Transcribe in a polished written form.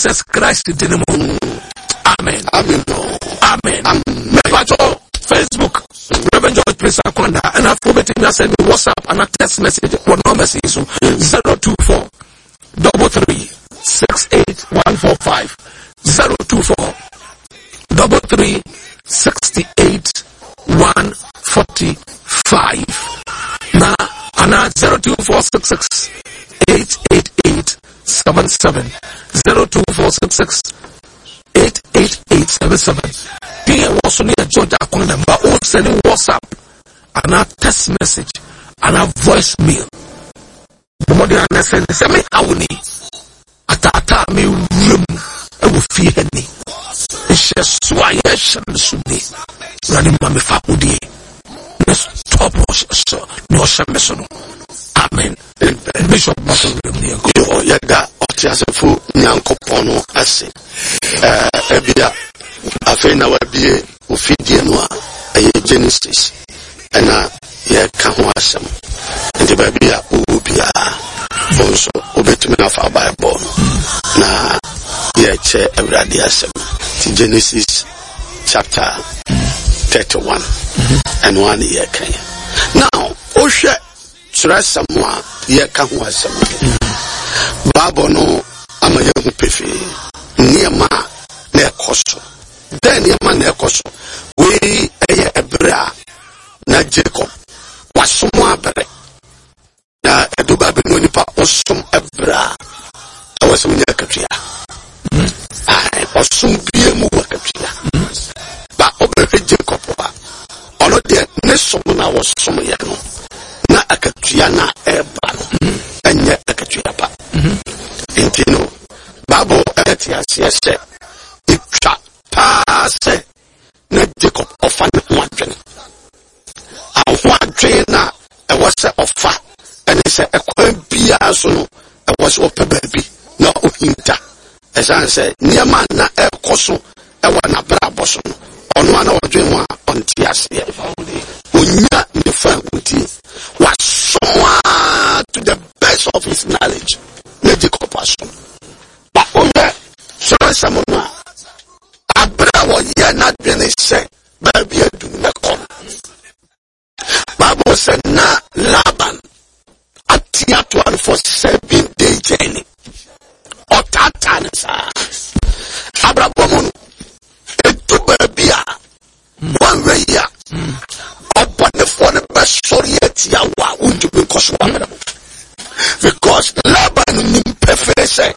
Jesus Christ din mu. Amen. Amen. Amen. Mepatɔ Facebook Reverend George Prince Akwanda ɛna afɔ bɛtumi asɛn mi WhatsApp ana text message wɔ numbers yi so 024 33 68 145 024 33 68 145 na ana 02466 888 77 02466 88877 din ɛwɔ so no yɛ George Akwanda ma o send WhatsApp anaa text message anaa voice mail bɔmmɔden anaa sɛ sɛ me haw ni ataataa me wura mu ɛwɔ fie ha ni nhyɛso a yɛhyɛ me so ni wurade ma me fa akodie na stop ne ɔhyɛ me so no. Amen. Bishop Basa wura mu ne yɛnkɔ. Yo, yɛda ɔteasefo Nyankopɔn no ase. Ebia afei na wabie ofidie no a ɛyɛ Genesis ɛna yɛka ho asɛm. Nti baabi a wowɔ biara, wo nso wobɛtumi afa Bible no na yɛkyɛ Awurade asɛm. Nti Genesis chapter 31 ɛno a ne yɛka yi. Now, wohwɛ Twerɛsɛm a yɛka ho asɛm yi, Bible no ama yɛahu pefee nneɛma a na ɛkɔ so. Dɛn nneɛma na ɛkɔ so? Wei ɛyɛ ɛberɛ a na Jacob wasom abrɛ. Na ɛdo baabi no nipa ɔsom ɛberɛ a ɛwɔ sɛ wonya akatua. Ɔsom bia mu wɔ akatua. Ba ɔbɛhwɛ Jacob a ɔno deɛ ne som na wɔsom yɛ no na akatua no a ɛreba no ɛnyɛ akatua pa. Nti no Bible ɛte aseɛ sɛ ɛtwa paa sɛ na Jacob ɔfa ne ho adwene. Aho adwene na ɛwɔ sɛ ɔfa ɛne sɛ ɛkwan biara so no ɛwɔ sɛ ɔpɛ baabi na ɔhinta ɛsiane sɛ nneɛma na ɛrekɔ so ɛwɔ n'abrabɔ so no ɔno a na ɔdwen ho a ɔnte aseɛ. Ɔnya ne fa ahodie, wasom a to the best of his knowledge na Jacob asom. Ba wohwɛ sɔresɛm no a, aberɛ a wɔyɛ n'adwene sɛ baabi adu no mɛkɔ no, Bible sɛ na Laban atiatoa no for 7 day journey. Ɔtaataa no saa. Abrabɔ mu no, ɛdu baabi a wɔnwɛ yi a ɔbɔnefoɔ no bɛsɔre atia wo a wontumi nkɔ so wɔ abrabɔ. Because Laban nim pɛfɛɛ sɛ